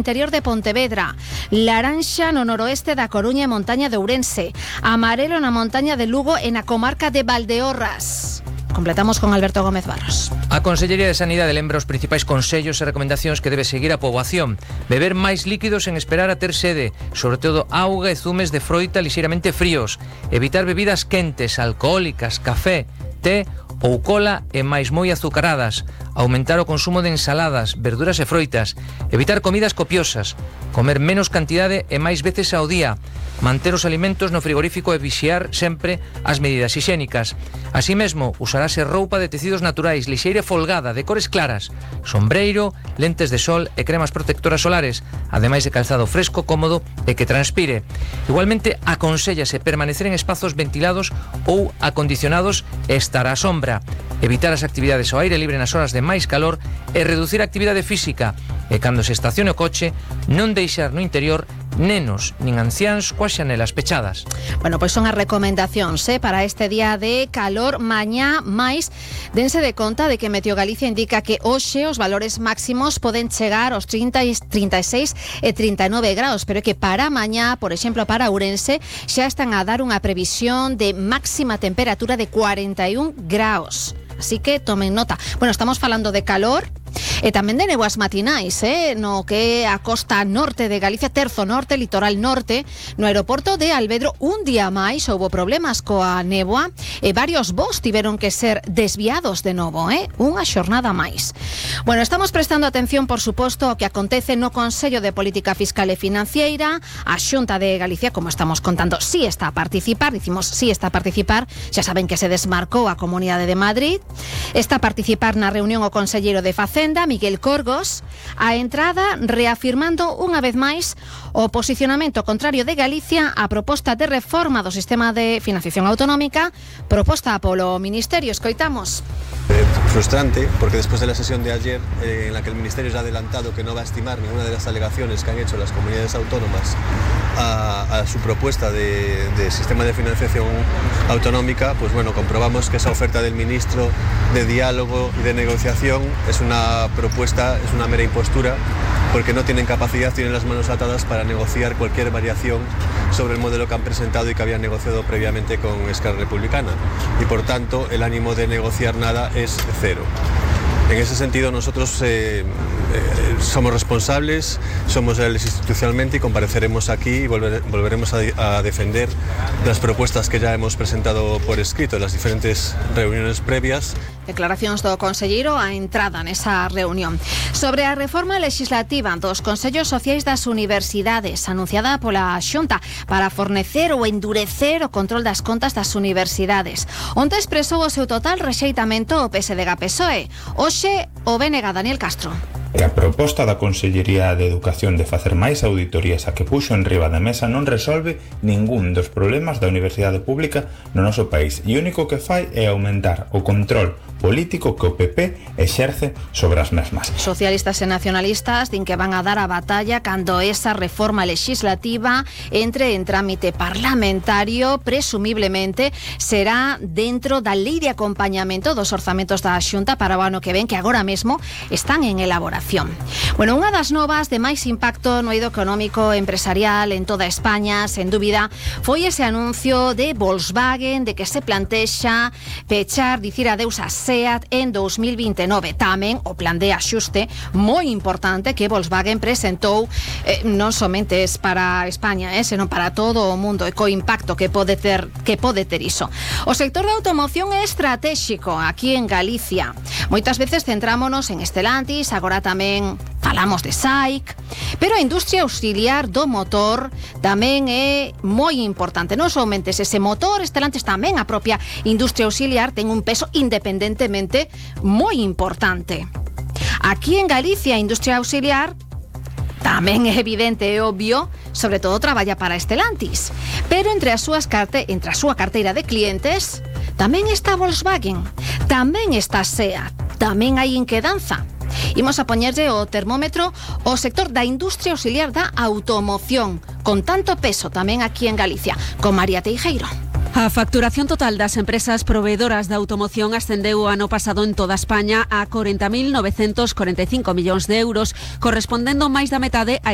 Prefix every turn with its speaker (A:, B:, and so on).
A: interior de Pontevedra, laranxa no noroeste da Coruña e montaña de Ourense, amarelo na montaña de Lugo e na comarca de Valdeorras. Completamos con Alberto Gómez Barros.
B: A Consellería de Sanidade lembra os principais consellos e recomendacións que debe seguir a poboación. Beber máis líquidos sen esperar a ter sede, sobre todo auga e zumes de froita lixeiramente fríos. Evitar bebidas quentes, alcohólicas, café, té ou cola e máis moi azucaradas. Aumentar o consumo de ensaladas, verduras e froitas. Evitar comidas copiosas. Comer menos cantidade e máis veces ao día. Manter os alimentos no frigorífico e vixiar sempre as medidas hixiénicas. Así mesmo, usarase roupa de tecidos naturais, lixeira e folgada, de cores claras, sombreiro, lentes de sol e cremas protectoras solares, ademais de calzado fresco, cómodo e que transpire. Igualmente, aconsellase permanecer en espazos ventilados ou acondicionados e estar á sombra. Evitar as actividades ao aire libre nas horas de máis calor e reducir a actividade física. E cando se estacione o coche, non deixar no interior nenos nin anciáns coas xanelas pechadas.
A: Bueno, pois son as recomendacións para este día de calor. Mañá máis, dense de conta de que Meteo Galicia indica que hoxe os valores máximos poden chegar aos 30, 36 e 39 graus, pero é que para mañá, por exemplo, para Ourense, xa están a dar unha previsión de máxima temperatura de 41 graus. Así que tomen nota. Bueno, estamos falando de calor e tamén de néboas matinais, no que a costa norte de Galicia, terzo norte, litoral norte, no aeroporto de Alvedro, un día máis houbo problemas coa néboa e varios voos tiveron que ser desviados de novo, unha xornada máis. Bueno, estamos prestando atención, por suposto, ao que acontece no Consello de Política Fiscal e Financiera. A Xunta de Galicia, como estamos contando, sí está a participar, dicimos sí está a participar, xa saben que se desmarcou a Comunidade de Madrid. Está a participar na reunión o conselleiro de Facenda, Miguel Corgos, a entrada reafirmando unha vez máis o posicionamento contrario de Galicia á proposta de reforma do sistema de financiación autonómica proposta polo Ministerio. Escoitamos.
C: Frustrante, porque después de la sesión de ayer, en la que el Ministerio ya ha adelantado que no va a estimar ninguna de las alegaciones que han hecho las comunidades autónomas a su propuesta de sistema de financiación autonómica, pues bueno, comprobamos que esa oferta del ministro de diálogo y de negociación es una propuesta, es una mera impostura, porque no tienen capacidad, tienen las manos atadas para negociar cualquier variación sobre el modelo que han presentado y que habían negociado previamente con Esquerra Republicana. Y por tanto, el ánimo de negociar nada es cero. En ese sentido, nosotros somos responsables, somos leales institucionalmente y compareceremos aquí y volveremos a defender las propuestas que ya hemos presentado por escrito en las diferentes reuniones previas.
A: Declaracións do conselleiro a entrada nesa reunión. Sobre a reforma legislativa dos Consellos Sociais das Universidades, anunciada pola Xunta para fornecer ou endurecer o control das contas das universidades. Onte expresou o seu total rexeitamento o PSDG-PSOE. Hoxe o BNG Daniel Castro.
D: E a proposta da Consellería de Educación de facer máis auditorías a que puxo en riba da mesa non resolve ningún dos problemas da universidade pública no noso país e o único que fai é aumentar o control político que o PP exerce sobre as mesmas.
A: Socialistas e nacionalistas din que van a dar a batalla cando esa reforma legislativa entre en trámite parlamentario. Presumiblemente será dentro da lei de acompañamento dos orzamentos da Xunta para o ano que ven, que agora mesmo están en elaboración. Bueno, unha das novas de máis impacto no eido económico empresarial en toda España, sen dúbida, foi ese anuncio de Volkswagen de que se plantexa pechar, dicir adeus a SEAT en 2029. Tamén o plan de axuste moi importante que Volkswagen presentou non somente es para España, senón para todo o mundo, e co impacto que pode ter iso. O sector da automoción é estratégico aquí en Galicia. Moitas veces centrámonos en Stellantis, agora tamén falamos de SAIC, pero a industria auxiliar do motor tamén é moi importante. Non somente ese motor, Stellantis, tamén a propia industria auxiliar ten un peso independentemente moi importante. Aquí en Galicia, a industria auxiliar tamén é evidente e obvio, sobre todo traballa para Stellantis, pero entre a súa carteira de clientes tamén está Volkswagen, tamén está SEAT, tamén hai inquedanza. Imos a poñerlle o termómetro ao sector da industria auxiliar da automoción, con tanto peso tamén aquí en Galicia, con María Teijeiro.
E: A facturación total das empresas proveedoras da automoción ascendeu o ano pasado en toda España a 40.945 millóns de euros, correspondendo máis da metade á